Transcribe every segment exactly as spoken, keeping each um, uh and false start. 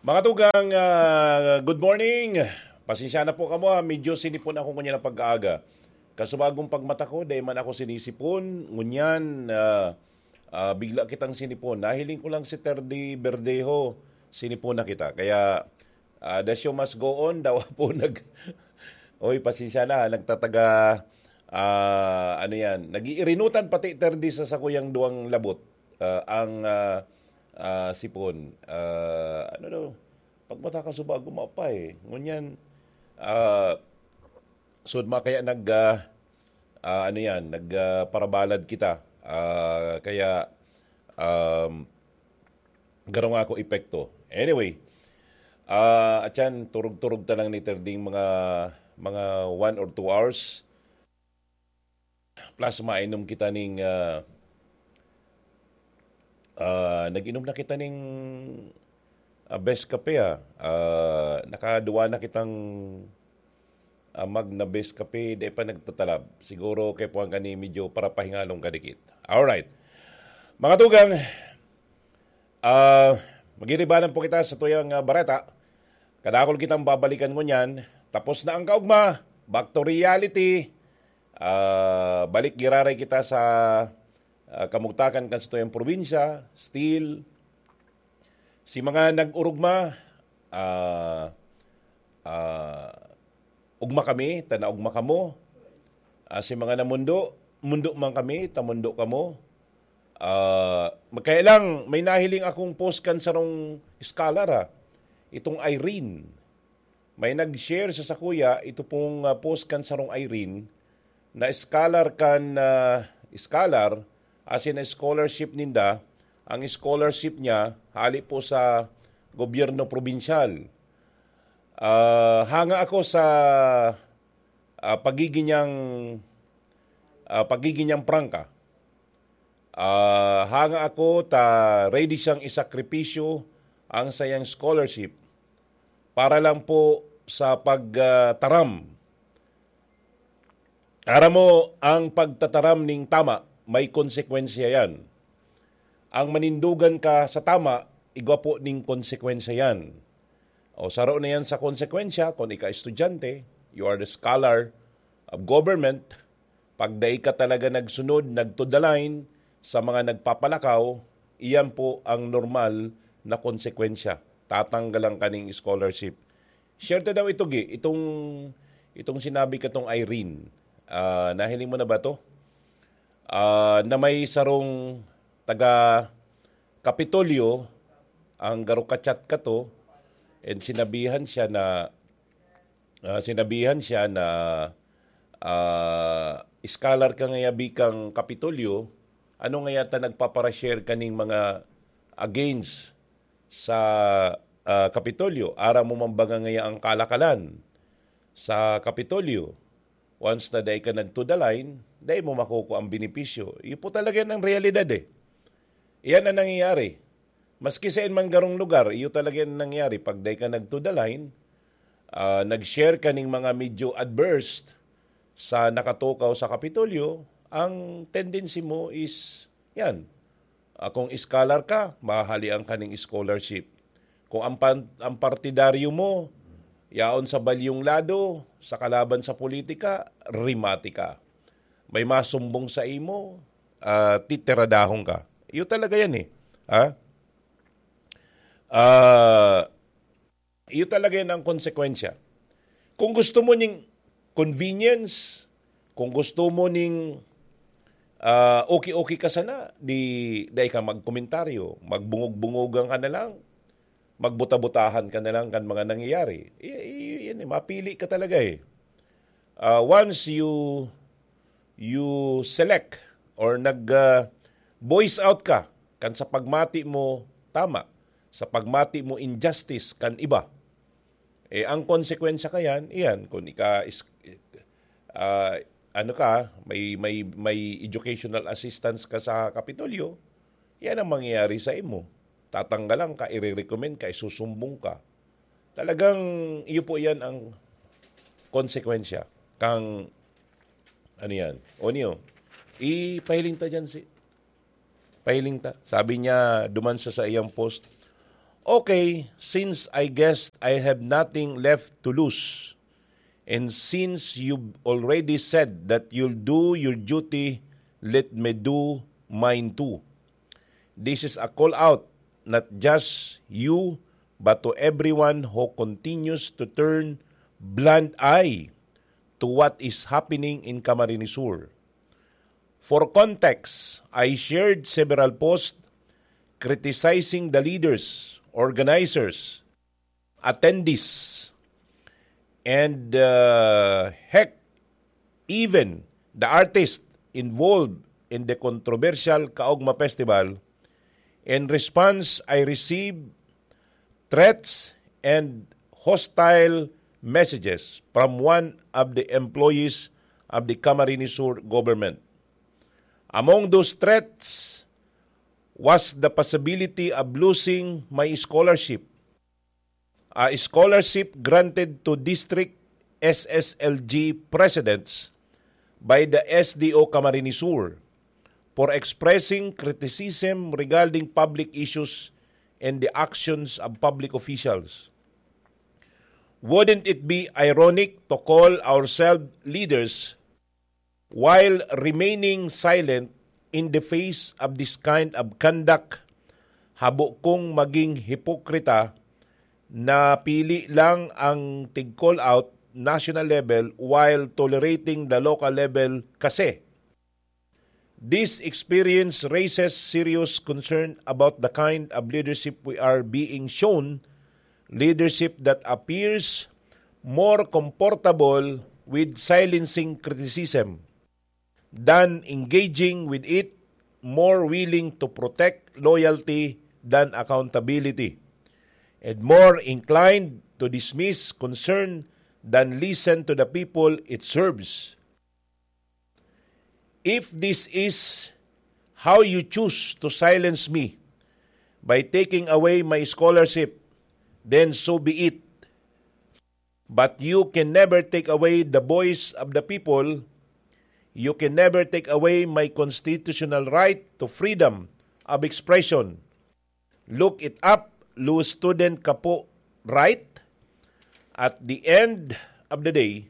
Mga tugang, ah, good morning. Pasensya na po kamo, ah. Medyo sinipon ako ngunyan na pagkaaga. Kasubagong pagmata ko, dai man ako sinisipon. Ngunyan, ah, ah, bigla kitang sinipon. Nahiling ko lang si Terdy Verdejo, sinipon na kita. Kaya, ah, the show must go on. Dawa po nag... Oy, pasensya na, nagtataga, ah, ano yan, nag-iirinutan pati Terdy sa sakuyang duwang labot. Ah, ang, ah, ah, sipon. Ah, ano daw? Pagmata ka suba, gumapay. Ngunyan, ah, sud ma kaya nag, ah, ah, ano yan, nag, ah, parabalad kita. Ah, kaya, um, garo nga ako epekto. Anyway, ah, at yan, turog-turog ta lang ni Terding mga, mga one or two hours. Plus, mainom kita ning, ah, ah, nag-inom na kita ning, ah, best kape, ah. Ah, nakaduwa na kitang, ah, mag na best kape, di pa nagtatalab. Siguro kay puwang kani medyo parapahingalong kadikit. Alright. Mga tugang, ah, magiribanan po kita sa tuyang, ah, bareta. Kadakol kitang babalikan ngunyan. Tapos na ang kaugma. Back to reality. Ah, balik giraray kita sa, ah, kamugtakan kan satuyang probinsya. Still, si mga nag-urugma, ah, ah, ugma kami, ta naugma kamo. Ah, si mga namundo, mundo man kami, ta mundo kamo. Ah, kaya lang, may nahiling akong post kan sarong scholar, ah. Itong Irene. May nag-share sa sakuya, ito pong, ah, post kan sarong Irene, na scholar kan, ah, scholar, as in scholarship ninda, ang scholarship niya, hali po sa gobyerno probinsyal. Ah, hanga ako sa, ah, pagiging niyang, ah, pagiging niyang prangka. Ah, hanga ako ta ready siyang isakripisyo ang sayang scholarship para lang po sa pag, ah, taram. Aram mo, ang pagtataram ning tama, may konsekwensya yan. Ang manindogan ka sa tama, igwa po ning konsekwensya yan. O saro na yan sa konsekwensya, kung ika estudyante, you are the scholar of government, pag dai ka talaga nagsunod, nag-to the line sa mga nagpapalakaw, iyan po ang normal na konsekwensya. Tatanggalan ka ning scholarship. Share ta daw ito, Gi, itong, itong sinabi katong Irene. Ah, nahiling mo na ba to? Ah, na may sarong taga Kapitolyo, ang garo ka-chat kato, and sinabihan siya na, ah, sinabihan siya na, ah, "Scholar ka ngaya bikang Kapitolyo, ano ngaya ta nagpapara-share kaning mga against sa, ah, Kapitolyo? Aram mo man ba nga ngaya ang kalakalan sa Kapitolyo? Once na dai ka nag-to the line, dai mo makukuha ang benepisyo." Iyo po talaga yan ang realidad eh. Iyan ang nangyayari. Maski sa man garong lugar, iyo talaga yan nangyayari. Pag dai ka nag-to the line, ah, nag-share ka ning mga medyo adverse sa nakatukaw sa Kapitolyo, ang tendency mo is, yan, ah, kung scholar ka, mahalian ka ning scholarship. Kung ang pan-, ang partidaryo mo, yaon sa balyong lado, sa kalaban sa politika, rimati ka. May masumbong sa imo, ah, titiradahon ka. Iyo talaga yan eh. Ha? Ah, iyo talaga yan ang konsekwensya. Kung gusto mo ning convenience, kung gusto mo ning, ah, okay-okay ka sana, di, dai ka magkomentaryo, magbungog-bungogan ka na lang, magbuta-butahan ka na lang kan mga nangyayari. I-, i-, yan eh, mapili ka talaga eh. Ah, once you, you select or nag, ah, voice out ka kan sa pagmati mo tama, sa pagmati mo injustice kan iba, eh, ang konsekwensya kayan, iyan, kung ika is-, ah, ano ka, may, may, may educational assistance ka sa Kapitolyo, yan ang mangyayari sa imo. Tatanggalan ka, ire-recommend ka, isusumbong ka. Talagang iyo po yan ang konsekwensya kang, ano yan, o niyo, ipahiling ta dyan si, pahiling ta. Sabi niya, duman sa saiyang post, Okay, since I guess I have nothing left to lose, and since you've already said that you'll do your duty, let me do mine too. This is a call out, not just you, but to everyone who continues to turn blind eye to what is happening in Camarines Sur. For context, I shared several posts criticizing the leaders, organizers, attendees, and, uh, heck, even the artists involved in the controversial Kaogma Festival. In response, I received threats and hostile messages from one of the employees of the Camarines Sur government. Among those threats was the possibility of losing my scholarship, a scholarship granted to district S S L G presidents by the S D O Camarines Sur for expressing criticism regarding public issues and the actions of public officials. Wouldn't it be ironic to call ourselves leaders while remaining silent in the face of this kind of conduct? Habo kong maging hipokrita na pili lang ang tig-call out national level while tolerating the local level kasi. This experience raises serious concern about the kind of leadership we are being shown, leadership that appears more comfortable with silencing criticism than engaging with it, more willing to protect loyalty than accountability, and more inclined to dismiss concern than listen to the people it serves. If this is how you choose to silence me by taking away my scholarship, then so be it. But you can never take away the voice of the people. You can never take away my constitutional right to freedom of expression. Look it up, lose student ka po, right? At the end of the day,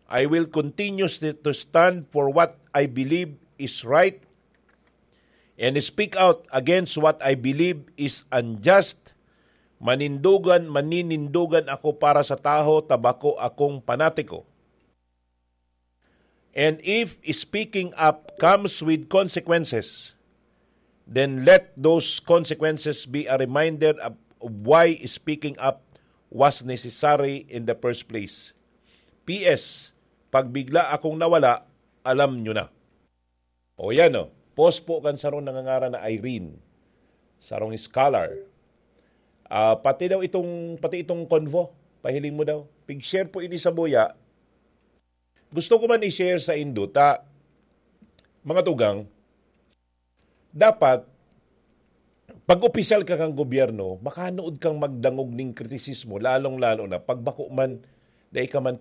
I will continue st- to stand for what I believe is right and speak out against what I believe is unjust. Manindogan, maninindogan ako para sa taho ta bako akong panatiko. And if speaking up comes with consequences, then let those consequences be a reminder of why speaking up was necessary in the first place. P S, pag bigla akong nawala, alam nyo na. O yan o, post po kan sarong nangangaran na Irene, sarong scholar. Ah, pati daw itong, pati itong convo, pahiling mo daw. Pig-share po ini sa buya. Gusto ko man i-share sa indo ta, mga tugang, dapat, pag opisyal ka kang gobyerno, makanood kang magdangog ning kritisismo, lalong-lalo na pag bako man, dai ka man